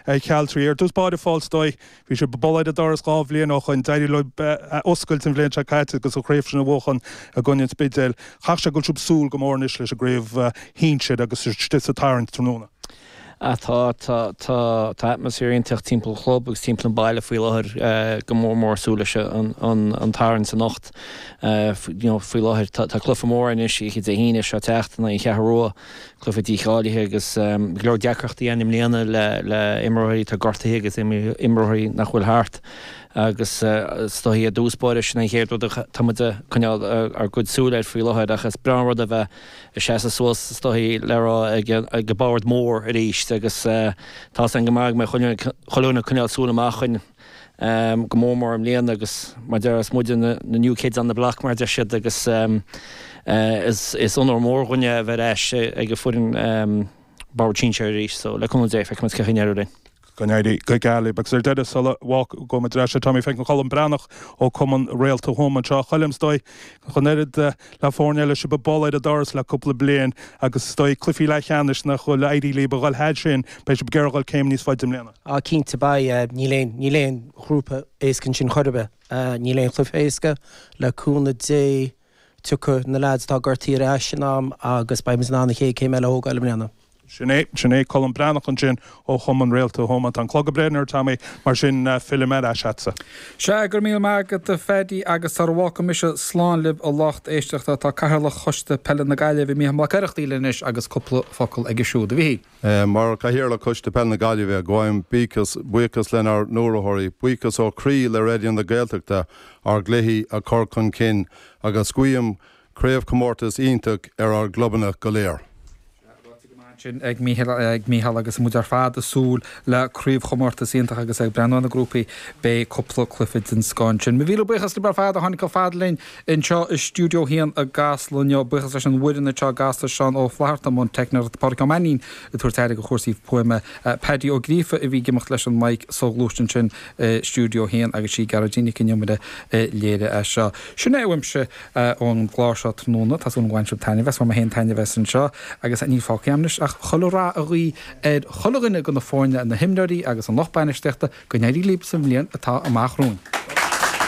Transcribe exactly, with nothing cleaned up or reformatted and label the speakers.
Speaker 1: Chealtraí. Ar dtús báire a Phóil is dóigh, bhí sibh ag bualadh ar an doras dhá bhliain ó shoin, d'éirigh leo oscailt an bhliain seo caite agus an chraobh sin a bhuachan i gcoinne an Spidéil. Chaithfeadh sé go bhfuil sibh ag súil go mór anois leis an gcraobh shinsir agus istigh sa tarraingt tráthnóna.
Speaker 2: Ah tá tá tá tá atmaisféar iontach timpeall an chlub agus timpeall an baile faoi láthair go mór mór súil leis an an an tarraingt anocht. You know faoi láthair tá tá cluiche mór anois oíche Dé hAoine seo teacht in aghaidh an Cheathrú Rua, cluiche dícháilithe agus go leor deacrachtaí ann i mbliana le le imreoirí atá gortaithe agus imreoirí nach bhfuil thart agus is dóigh i dtús báire sin an chéad rud atá muid ag coinneáil ár gcuid súil air faoi láthair ach is breá an rud a bheith ag seasamh suas is dóigh le rá ag ag an bord mór arís agus tá san go maith go mbeidh chuile dhuine ag coinneáil súil amach chun go mór mór i mbliana agus mar deir is muide na new kids on the block mar deir siad agus is is onóir mór dhúinne a bheith ar ais ag an foireann bord sinsir arís so le cúnamh Dé feicfimid cén chaoi a n-éireoidh linn.
Speaker 1: Go n-éirí go geal libh. Agus ar deireadh sula bhfágfaimid ar ais Tommy feicim Colm Breathnach ó Cumann Réalta Thuama anseo. Choilm is dóigh chun oiread le foirne eile sibh ag bualadh ar an doras le cúpla bliain agus is dóigh cluichí leathcheannais nach bhfuil éirí libh a dhul thar sin beidh sibh ag iarraidh dhul céim níos faide i mbliana.
Speaker 3: Á cinnte beidh níl aon níl aon ghrúpa éasca ansin chor ar bith. Níl aon chluiche éasca le cúnamh Dé tiocfaidh na lads atá gortaithe ar ais in am agus beidh muid in ann an chéad céim eile a thógáil i mbliana.
Speaker 1: Sin é sin é Colm Breathnach ansin ó Chumann Réalta Thuama tá an clog ag breathnú ar Tommy mar sin fillim ar ais agatsa.
Speaker 4: Sea go raibh míle maith agat a Phaddy agus sara bhfágfaidh mise slán libh a lucht éisteachta tá Cathaoirleach Choiste Peile na Gaillimhe Mícheál Mac Oireachtaigh linn anois agus cúpla focal aige siúd a Mhíchíl.
Speaker 5: Mar Cathaoirleach Choiste Peile na Gaillimhe gabhaim buíochas buíochas lenár n-urraitheoirí, buíochas ó chroí le Raidió na Gaeltachta ár gcluichí a chur chun cinn agus guím craobhchomórtas iontach ar ár gclubanna go léir.
Speaker 4: sin ag Mícheál ag Mícheál agus muid ar fad ag súil le craobhchomórtas iontach agus ag breathnú na grúpaí beidh cúpla cluiche den scoth ansin. Míle buíochas libh ar fad a tháinig chomh fada linn anseo i stiúideo a haon i gCasla inniu buíochas leis an bhfoireann anseo i gCasla Seán Ó Flatharta i mbun teicneoireachta Pádraig Ó Mainnín ag tabhairt aire do chúrsaí fuaime Paddy Ó Gríofa a bhí ag imeacht leis an mic soghluaiste ansin i stiúideo a haon agus sí Gearóidín Nic an Iomaire a léirigh é seo. Sin é uaimse ón gclár seo tráthnóna Tá súil go mbain sibh taitneamh as bhain mé féin taitneamh as anseo agus níl fágtha agam anois ach chuile rath a ghuí ar chuile dhuine de na foirne na himreoirí agus an lucht bainistíochta go n-éirí libh sa bhliain atá amach romhainn.